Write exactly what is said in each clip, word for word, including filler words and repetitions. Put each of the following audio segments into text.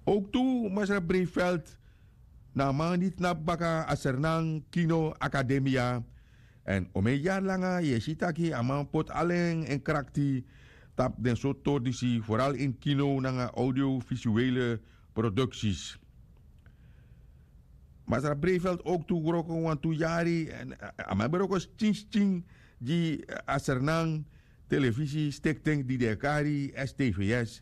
Owktu masra breifelt na a man di tnapu baka a sernan kino akademia. Èn omeni yari langa yu e si taki a man poti ala en krakti tapu den sortu tori disi foral ini kino nanga audiovisuele produksis. Masra breifelt owktu wroko wantu yari èn a man ben wroko skin skin gi a sernan televisistikting di den e kari stvs.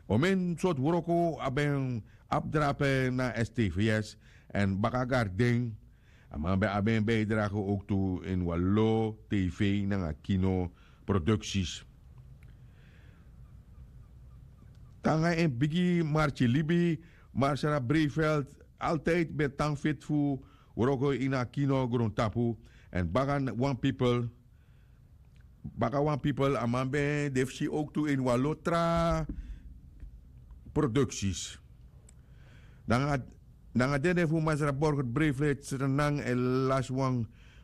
Omeni sortu wroko a ben abi drape na stvs èn baka garden. A man ben abi en bijdrage owktu ini wan lo tv nanga kino produksis. Tanga en bigi marki libi, marsara breifelt altijdi ben tan feti fu wroko ini a kino grontapu. Èn baka wan pipel baka wan pipel a man ben de fu si owktu ini wan lo tra produksis. Nanga dede fu masra borger breifelt srenan e lasi wan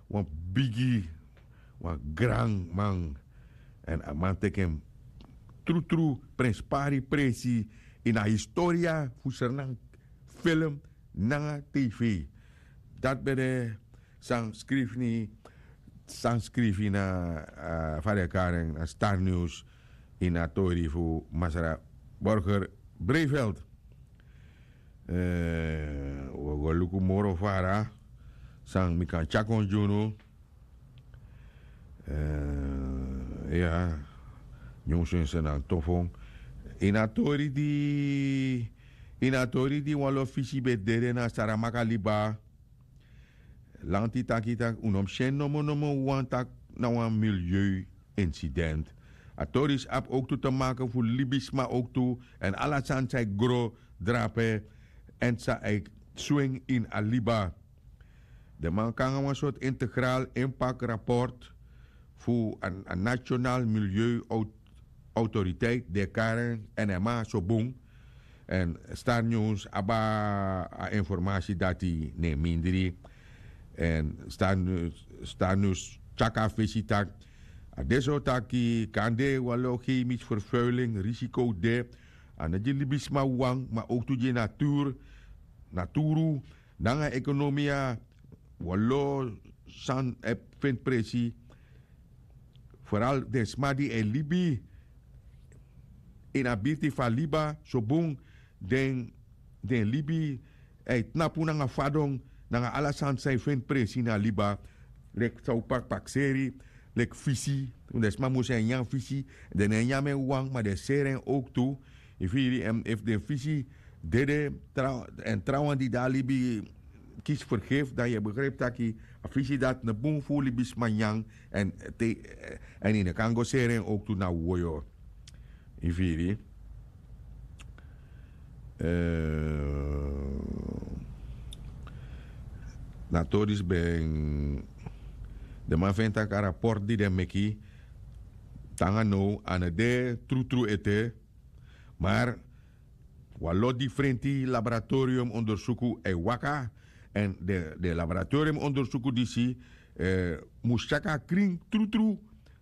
wan bigi wan granman. Èn a man teki en trutru prenspari presi ini a historia fu srenan film nanga tv. Dati ben de san skrifi ni san skrifi na fa den e kari en na star news ini a tori fu masra borger breifelt. Wi o go luku moro fara san mi kan tyari kon gi unu. Ya nyunsu en seni a tofon ini a tori di ini a tori di wan lo fisi ben dede na saramaka liba. Lanti taki tak' un no mus si en nomo nomo wan tak' na wan milieu insident. A tori disi abi owktu te make fu libisma owktu èn ala sani san e gro drape èn san e swing ini a liba. Den man kon nanga wan sortu integral impact raport fu a national milieu autoriteit di e kari en nma so bun. Èn star news abi a informasi dati na en mindri. Èn star news tyaki a fesi tak' a de so taki kande wan lo chemisch vervuiling risiko de a no gi libisma wawan ma owktu gi en naturu naturu nanga ekonomia. Wan lo san e feni presi foral den sma di e libi ini a birti fu a liba so bun den den libi e tnapu nanga fadon nanga ala sani san e feni presi na liba. Leki san un pakpakseri leki fisi den sma mus e nyan fisi den no e nyan mi en wawan ma den e seri en owktu. Yu firi èn efu den fisi dede èn trawan di de a libi kisi fergefu dan yu e begripi taki a fisi dati no bun fu libisma nyan. Èn te èn yu no kan go seri en owktu na woyo. Yu firi na tori disi ben den man feni tak' a raport di den meki tanga now a no de trutru ete. Mar wan lo difrenti laboratorium ondersuku e waka èn den laboratorium ondersuku disi mus tyaki a krin trutru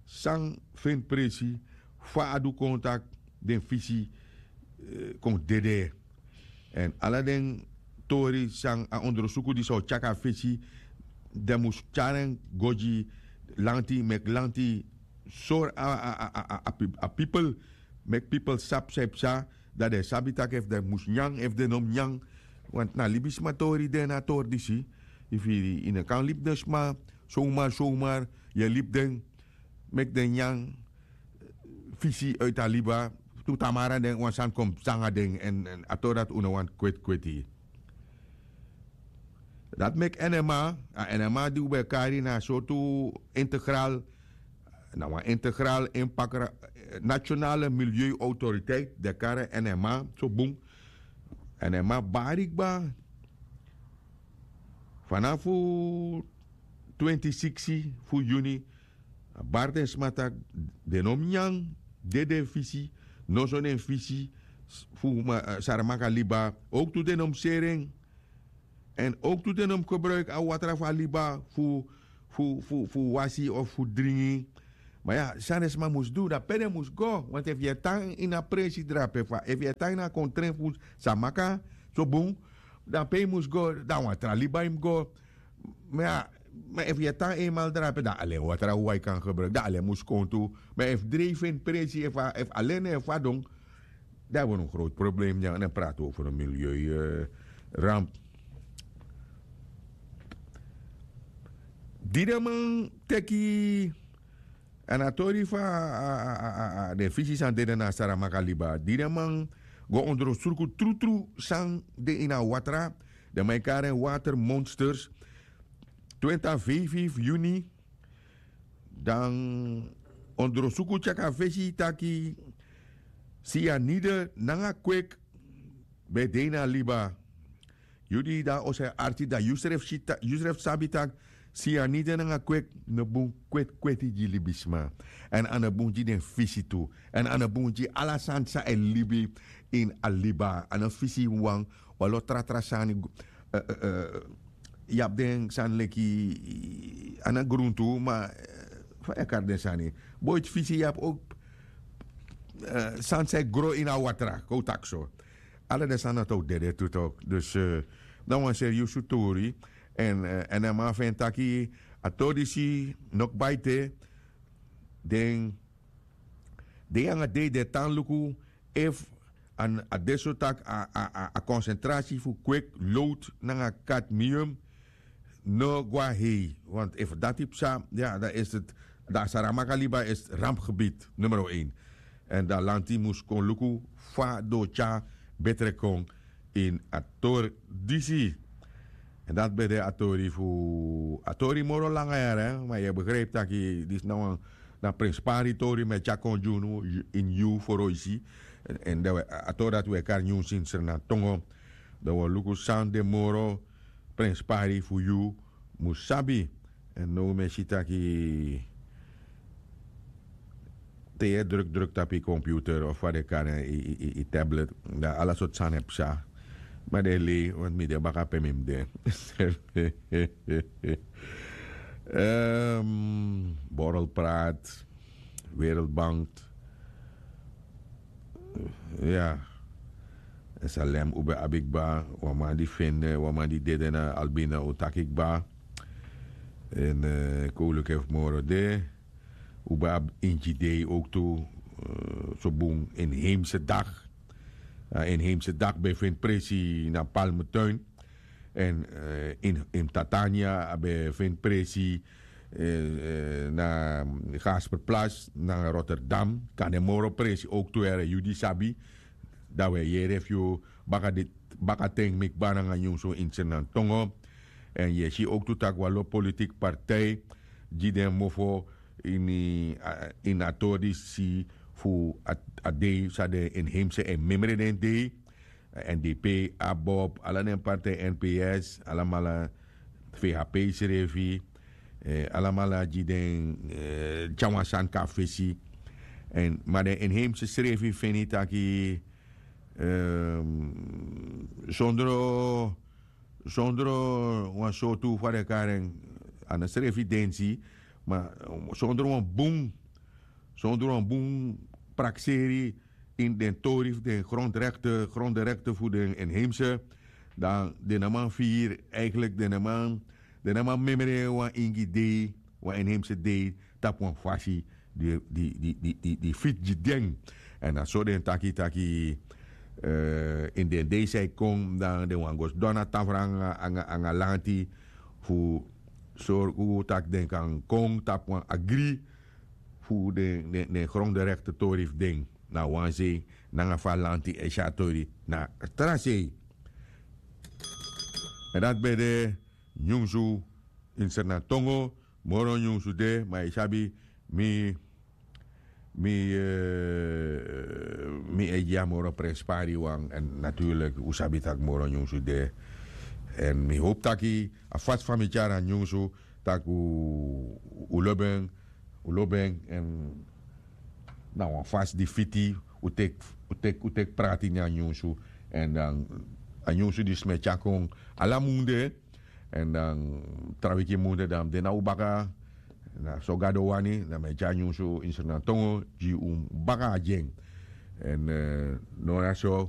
san feni presi fa a du kon tak' den fisi kon dede. Èn ala den tori san a ondersuku disi o tyaki a fisi den mus tyari en go gi lanti meki lanti sori a pipel meki pipel sabi san e psa dan den sabi tak' efu den mus nyan efu den no mus nyan. Want na libisma tori de na a tori disi. Efu yu no kan libi den sma somar somar yu e libi den meki den nyan fisi uiti a liba tu tamara den wan sani kon psa nanga den èn a tori dati un no wani kweti kweti. Dati meki nma a nma di un ben e kari na a sortu integral na wan integral inpak nationale milieu autoriteit den e kari en nma so bun. Nma bari kba fanafu twenti siksi fu yuni a bari den sma tak' den no mus nyan dede fisi noso den fisi fu saramaka liba. Owktu den no mus seri en èn owktu den no mus gebruiki a watra fu a liba fu fu fu wasi of fu dringi. Ma ya san den sma mus du dan pe den mus go, want efu yu e tan ini a prensi drape fa efu yu e tan ini a kontren fu samaka, so bun, dan pe yu mus go? Dan wan tra liba yu mus go. Ma ya, ma efu yu e tan enmal drape dan alen watra wan yu kan gebruiki dan alen mus kon tu. Ma efu dreifi en prensi efu alen na en fadon, dan hebben we een groot probleem. Dan praten we over een milieu ramp. Di den man teki a na tori fu a den fisi san dede na a saramaka liba di den man go ondrostruku trutru san de ini a watra. Den man e kari en watermonsters. Twenti a feifi fu yuni dan ondrosuku tyaki a fesi taki sianide nanga kwek ben de ini a liba. Yu di dan o sa e arki dan yu srefi sabi tak' sianide nanga kwek no bun kwet'kweti gi libisma. Èn a no bun gi den fisi tu. Èn a no bun gi ala sani san e libi ini a liba a no fisi wawan. Wan lo tratra sani. Yu abi den sani leki a na gruntu ma fa yu e kari den sani? Boiti fisi yu abi ouk sani san e gro ini a watra kon un taki so. Ala den sani dati o dede tu tok' dus na wan seriusu tori. Èn a man fu en taki a tori disi no kba ete. Den dei nanga dei den e tan luku efu a de so tak' a konsentrasi fu kweki lowtu nanga kadmium no go na hei. Want efu dati psa ya dan isi dan a saramaka liba isi rampgebied numero en. Èn dan lanti mus kon luku fa den o tyari betre kon ini a tori disi. Èn dati ben de a tori fu a tori moro langa yara ma yu e begripi tak' disi na wan na prenspari tori mi e tyari kon gi unu ini yu foroisi. Èn a tori dati un e kari nyunsu ini srnantongo. Dan un o luku san de moro prenspari fu yu mus sabi. Èn now mi e si taki te yu e drukdruk tapu yu computer of fa den e kari en yu tablet dan ala sortu sani e psa. Ma den e lei want mi de baka pe mi mus de. Borrelpraat, wereldbank. Ya. Salem un ben abi kba wan man di fende wan man di dede na albina un taki kba. Èn kowluke fu moro de. Un ben abi ingi dei owktu. So bun inheimse dag. A inheimse dag ben feni presi na palmetuin. Èn in tatania a ben feni presi na gasperplas nanga rotterdam. Kan den moro presi owktu yere yu di sabi. Dan un e yere fu yu bakaten mi kba nanga nyunsu ini srnantongo. Èn yu e si owktu tak' wan lo politiki partij gi den mofo ini a tori disi fu a dei san den inheimse e memre den dei. N d p, abob ala den partij n p s alamala. Vhp srefi alamala gi den tyari wan sani kon na fesi. Ma den inheimse srefi feni taki sondro sondro wan sortu fa den e kari en a no srefi densi. Ma sondro wan bun sondro wan bun prakseri ini den tori fu den grondrekte grondrekte fu den inheimse. Dan den no man firi eigenlik den no man memre wan ingi dei wan inheimse dei tapu wan fasi di fiti gi den. Èn na so den taki taki ini den dei san e kon dan den wani go sidon na tafra nanga lanti fu sorgu tak' den kan kon tapu wan agri fu den gronderekte tori fu den na wan sei nanga fa lanti e si a tori na tra sei. Èn dati ben de nyunsu ini srnantongo. Moro nyunsu de ma yu sabi mi mi e gi a moro prenspari wan èn naturlik un sabi tak' moro nyunsu de. Èn mi hopu taki a fasi fa mi tyari a nyunsu tak' un lobi en un lobi en èn na wan fasi di fiti un teki prati ini a nyunsu. Èn dan a nyunsu disi mi e tyari kon ala mun de. Èn dan tra wiki mun de dan mi de na un baka. Na so gado wani, na mi e tyari nyunsu ini sranatongo gi un baka na gi en. Èn no na so.